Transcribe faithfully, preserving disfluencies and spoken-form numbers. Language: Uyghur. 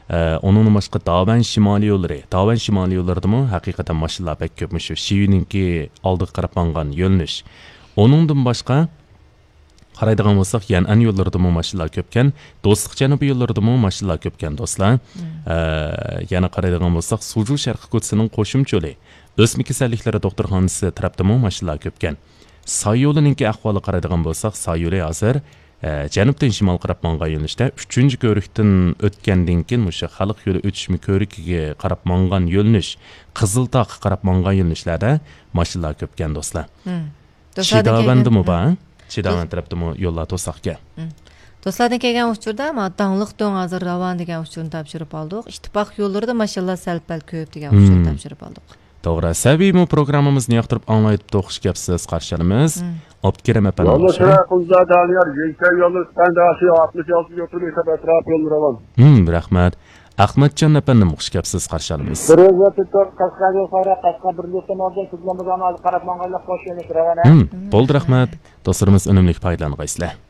ئە، ئۇنىڭدىن باشقا داۋەن شىمالىي يوللىرى، داۋەن شىمالىي يوللىرىدىمۇ ھەقىقەتەن ماشىنىلار بەك كۆپ، مۇشۇ شىۋىنىڭكى ئالدىغا قاراپ ماڭغان يۆنىلىش. ئۇنىڭدىن باشقا قارايدىغان بولساق، يەنئەن يوللىرىدىمۇ ماشىنىلار كۆپكەن، دوستلۇق جەنۇبى يوللىرىدىمۇ ماشىنىلار كۆپكەن، دوستلار. ئە، يەنە قارايدىغان بولساق، سۇجۇ شەرقىي كوچىسىنىڭ قوشۇمچە يولى، ئۆسمە كېسەللىكلىرى دوختۇرخانىسى تەرەپتىمۇ ماشىنىلار كۆپكەن. ساي يولىنىڭكى ئەھۋالىغا قارايدىغان بولساق، ساي يولى ھازىر، ئە، جەنۇبتىن شىمالغا قاراپ ماڭغان يۆنىلىشتە ئۈچىنچى كۆۋرۈكتىن ئۆتكەندىن كېيىن مۇشۇ خەلق يولى ئۆتۈشمە كۆۋرۈكىگە قاراپ ماڭغان يۆنىلىش، قىزىلتاغقا قاراپ ماڭغان يۆنىلىشلەردە ماشىنىلار كۆپكەن، دوستلار. مم. دوستلاردىن كەلگەن، چىداۋەندىمۇ مم، بار. چىداۋەند تەرەپتىمۇ يوللار توساقكەن. مم. دوستلاردىن كەلگەن ئۇچۇردا، ما، داڭلىق دۆڭ ھازىر راۋان دېگەن ئۇچۇرنى تاپشۇرۇپ ئالدۇق. ئىتتىپاق يوللىرىدا ماشىنىلار سەل-پەل كۆپ دېگەن ئۇچۇرنى، مم، تاپشۇرۇپ ئالدۇق. توغرا. سەمىمىي پروگراممىمىزنى ياقتۇرۇپ ئاڭلاۋېتىپتۇ، خۇش كەپسىز، قارشى ئالىمىز. مم. ئابدۇكېرىم ئەپەندىمۇ يوللىرى خۇش. شىراي، قۇزدا، دانىيار، يېڭىچە يولى، سۈپەنداشى، ئاتمىش ئالتە يوتۇن، ئېتىپ ئەتراپ يوللىرى راۋان. مم، رەھمەت. ئەخمەتجان ئەپەندىم، خۇش كەپسىز، قارشى ئالىمىز. بىر يۈز ئوتتۇز تۆت، قەشقەر يول سايراق، قەشقەر بىر يۈز ئون ئالتە، كۆزلىمىز ئانا قاراپ ماڭغانلىق، خوش يېنىك راۋان، ھە؟ مم، بولدى، رەھمەت. دوستلىرىمىز ئۈنۈملۈك پايدىلانغايسىلەر.